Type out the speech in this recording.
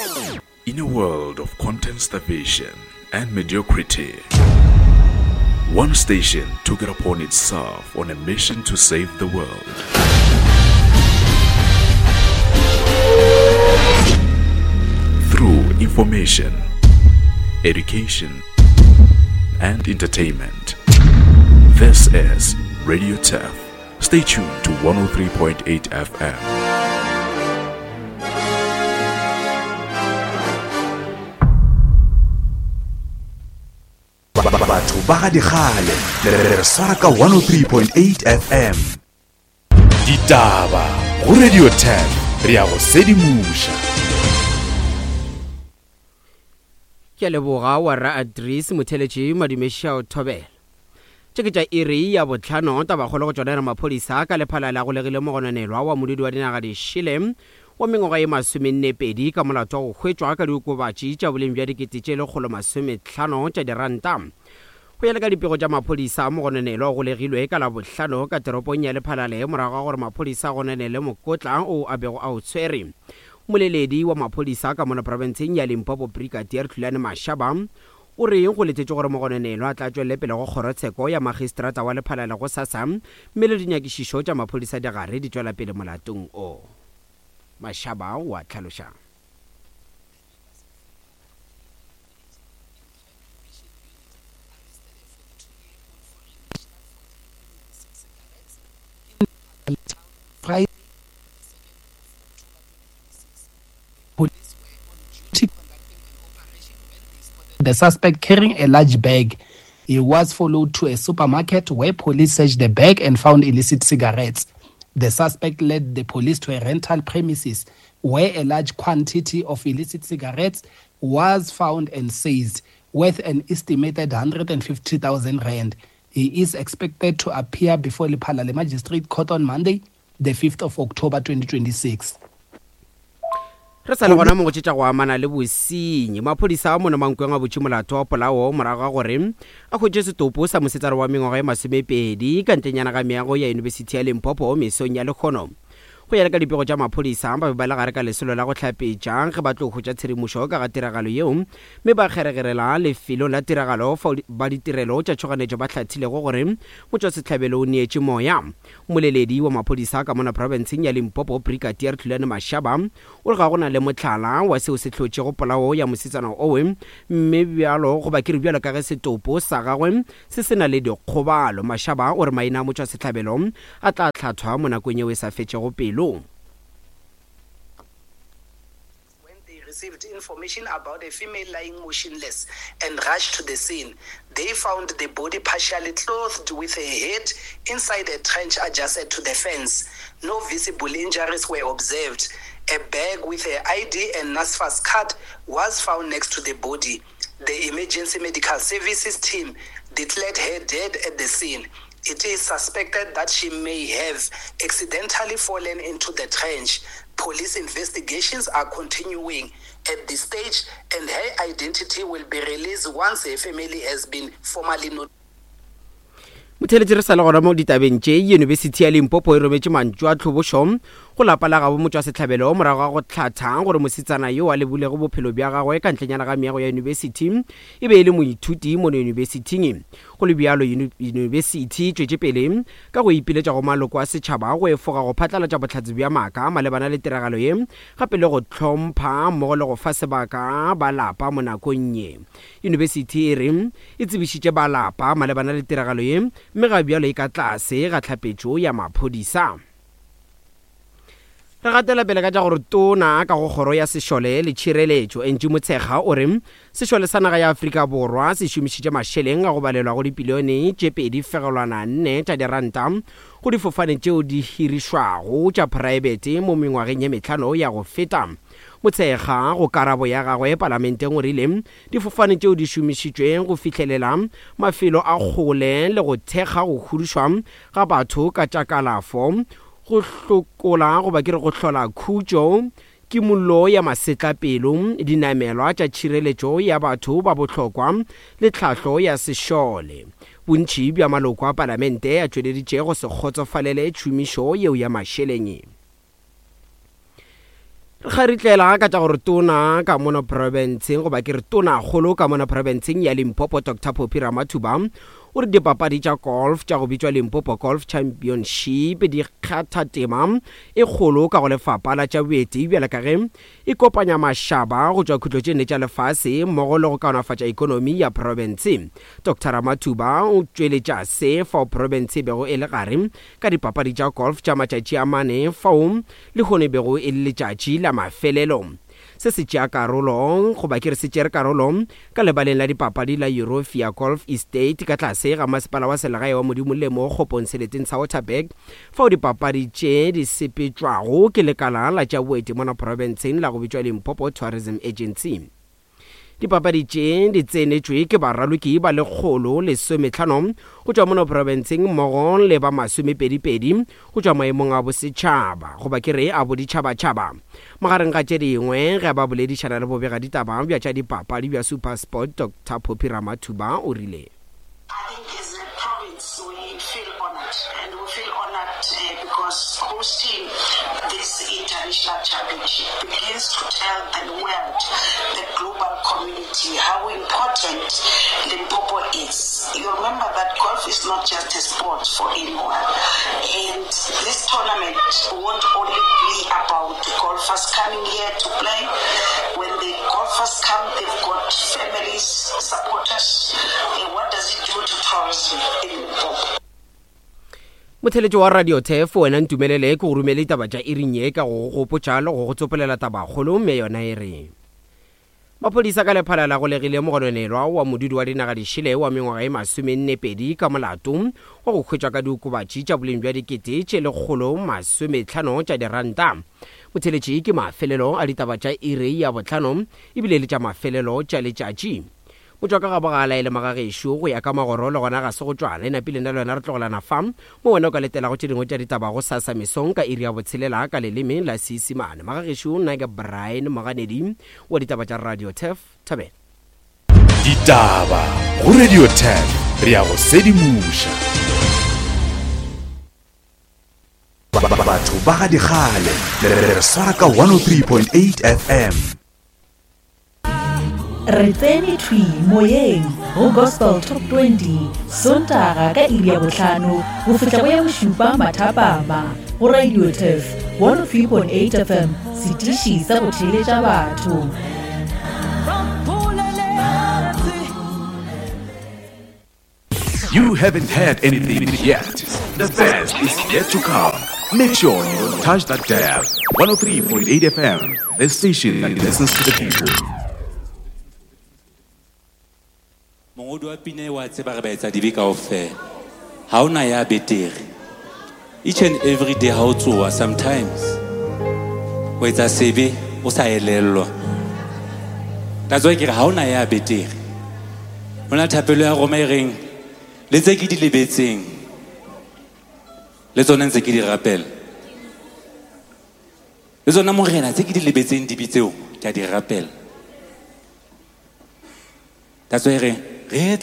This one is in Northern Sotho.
In a world of content starvation and mediocrity, one station took it upon itself on a mission to save the world. Through information, education, and entertainment. This is Radio Turf. Stay tuned to 103.8 FM. Batho ba ga dikgale le re swara ka 103.8 FM. Ditaba go Radio 10 re ya go sedimoša. Ke a leboga warra Adris Motheletši Madumešao Thobela. Tše ke tša iri ya bohlano tabakgolo go tšona e re maphodisa ka Lephalale a golegile mogononelwa wa modudi wa dinaga dišele wa mengwaga ye masomennepedi ka molato wa go hwetšwa ka diokobatši tša boleng bja dikete tše lekgolomasomehlano tša diranta. Go ya le ka dipego tša maphodisa, mogononelwa o golegilwe ka Labohlano ka toropong ya Lephalale morago ga gore maphodisa a gononele mokotla o a bego a o tshwere. Mmoleledi wa maphodisa ka mono profenseng ya Limpopo Brigadier Hlulani Mashaba o re go letetšwe gore mogononelwa a tla tšwelele pele go kgorotsheko ya magistrata wa Lephalale gosasa mme le dinyakišišo tša maphodisa di gare di tšwela pele molatong o. Mashaba o a hlaloša. The suspect carrying a large bag. He was followed to a supermarket where police searched the bag and found illicit cigarettes. The suspect led the police to a rental premises where a large quantity of illicit cigarettes was found and seized, worth an estimated 150,000 rand. He is expected to appear before Lephalale Magistrate Court on Monday, the 5th of October 2026. Re sa le gona mo go tše tša go amana le bosenyi, maphodisa a mono Mankweng a butše molato wa polao morago ga gore a hwetše setopo sa mosetsana wa mengwaga e masomepedi ka ntlenyana ga meago ya Yunibesithi ya Limpopo mesong ya lekgono. Go ya le ka dipego tša maphodisa, ba be ba le gare ka lesolo la go hlapetša ge ba tlo hwetša tshedimošo ka ga tiragalo yeo mme ba kgeregerela lefelong la tiragalo fao ba ditirelo tša tšhoganetšo ba hlathilego gore motšwasehlabelo o neetše moya. Mmoleledi wa maphodisa ka mona profenseng ya Limpopo, Brigadier Tlulane Mashaba, o re ga go na le mohlala wa seo se hlotšego polao ya mosetsana owe, mme bjalo goba ke re bjalo ka ge setopo sa gagwe se se na le dikgobalo. Mashaba o re maina a motšwasehlabelo a tla hlathwa mo nakong yeo e sa fetšego pelo. When they received information about a female lying motionless and rushed to the scene, they found the body partially clothed with her head inside a trench adjacent to the fence. No visible injuries were observed. A bag with her ID and NSFAS card was found next to the body. The emergency medical services team declared her dead at the scene. It is suspected that she may have accidentally fallen into the trench. Police investigations are continuing at this stage and her identity will be released once her family has been formally notified. Motheeletši re sa le gona mo ditabeng tše, Yunibesithi ya Limpopo e rometše mantšu a tlhobošo go lapa la gabo motšwasehlabelo morago ga go hlatha gore mosetsana yo a lebulego bophelo bja gagwe ka ntlenyana ga meago ya yunibesithi e be e le moithuti mono yunibesithing. Go le bjalo, yunibesithi e tšwetše pele ka go ipiletša go maloko a setšhaba go efoga go phatlalatša bohlatse bja maaka malebana le tiragalo ye gape le go hlompha mmogo le go fa sebaka ba lapa mo nakong ye. Yunibesithi e re e tsebišitše ba lapa malebana le tiragalo ye mme ga bjalo e ka tlase ga tlhapetšo ya maphodisa. Re gatela pele ka tša gore Tona ka go Kgoro ya Sešole le Tšhireletšo, Angie Motshekga o re sešole sa naga ya Afrika Borwa se šomišitše mašeleng a go balelwa go dipilione tše 2.4 tša diranta go difofane tšeo di hirišwago tša phraebete mo mengwageng ye mehlano ya go feta. Motshekga go karabo ya gagwe palamenteng o rile difofane tšeo di šomišitšwe go fihlelela mafelo a kgole le go thekga go hudušwa ga batho ka tša kalafo Go hlokola goba ke re go hlola khutšo, kimollo ya masetlapelo, dinamelwa tša tšhireletšo ya batho ba bohlokwa le tlhahlo ya sešole. Bontši bja maloko a palamente a tšweleditše go se kgotsofalele tšhomišo yeo ya mašeleng. Re kgaritlela ka tša gore tona ka mono profenseng goba ke re tonakgolo ka mono profenseng ya Limpopo Doctor Phophi Ramathuba o re dipapadi tša golf tša go bitšwa Limpopo Golf Championship di kgatha tema e kgolo ka go lefapha la tša boeti bjale ka ge e kopanya mašaba go tšwa khutlo tše nne tša lefase mmogo le go kaonafatša ekonomi ya profense. Doctor Ramathuba o tšweletša se fao profense e bego e le gare ka dipapadi tša golf tša matšatši a mane fao lehono e bego e le letšatši la mafelelo. Se se tšea karolo, goba ke re se tšere karolo, ka lebaleng la dipapadi la Eurofia Golf Estate ka tlase ga masepala wa selegae wa Modimolle mo Kgopong seleteng sa Waterberg, fao dipapadi tše di sepetšwago ke lekala la tša boeti mona profenseng la go bitšwa Limpopo Tourism Agency. Dipapadi tše di tsenetšwe ke baraloki ba 115 go tšwa mono profenseng mmogo le ba masomepedipedi go tšwa maemong a bosetšhaba goba ke re a boditšhabatšhaba. Magareng ga tše dingwe, ge ba boledišana le bobegaditaba bja tša dipapadi bja SuperSport, Doctor Phophi Ramathuba o rile. I think as a province we feel honoured and we feel honoured because hosting this international championship begins to tell the world, the global community how important Limpopo is. You remember that golf is not just a sport for anyone and this tournament won't only be about the golfers coming here to play. When the golfers come, they've got families, supporters. What does it do to tourism in Limpopo? Motheletši wa Radio Turf, wena ntumelele ke go romele ditaba tša iring ye ka go go gopotša le go go tsopolela tabakgolo mme yona e re. Maphodisa ka Lephala la golegile mogononelwa wa modudi wa dinaga dišele wa mengwaga e masomennepedi ka molato wa go hwetšwa ka diokobatši tša boleng bja dikete tše 150 tša diranta. Motheletši ke mafelelo a ditaba tša iri ya bohlano ebile le tša mafelelo tša letšatši. Motšwa ka gabo ga a laele magagešo go ya ka magoro le gona ga se go tšwa. Le napile nna le wena re tlogelana fa mo wena o ka letelago tše dingwe tša ditaba gosasa mesong ka iri ya botshelela ka leleme la Seisimane. Magagešo nna ke Brian Moganedi wa ditaba tša Radio Turf. Thobela. Ditaba go Radio Turf re a go sedimoša. Batho ba ga dikgale le re swara ka 103.8 FM. Re tsene thwi moyeng go Gospel Top 20 Sontaga ka iri ya bohlano go fihla go ya bošupa mathapama go Radio Turf 103.8 FM, setiši sa go theeletša batho. You haven't heard anything yet. The best is yet to come. Make sure you don't touch that dial. 103.8 FM, the station that listens to the people. Mongodi wa pina e wa tseba re ba etsa dibe kaofela. Ha ona ya betere. Each and every day ha o tsoha sometimes o etsa sebe o sa elellwa. That's why ke re ha ona ya betere. Ho na thapelo ya Roma e reng le tse ke di lebetseng le tsone ntse ke di rapela. Le tsona morena tse ke di lebetseng dibe tseo ke a di rapela. That's why e reng re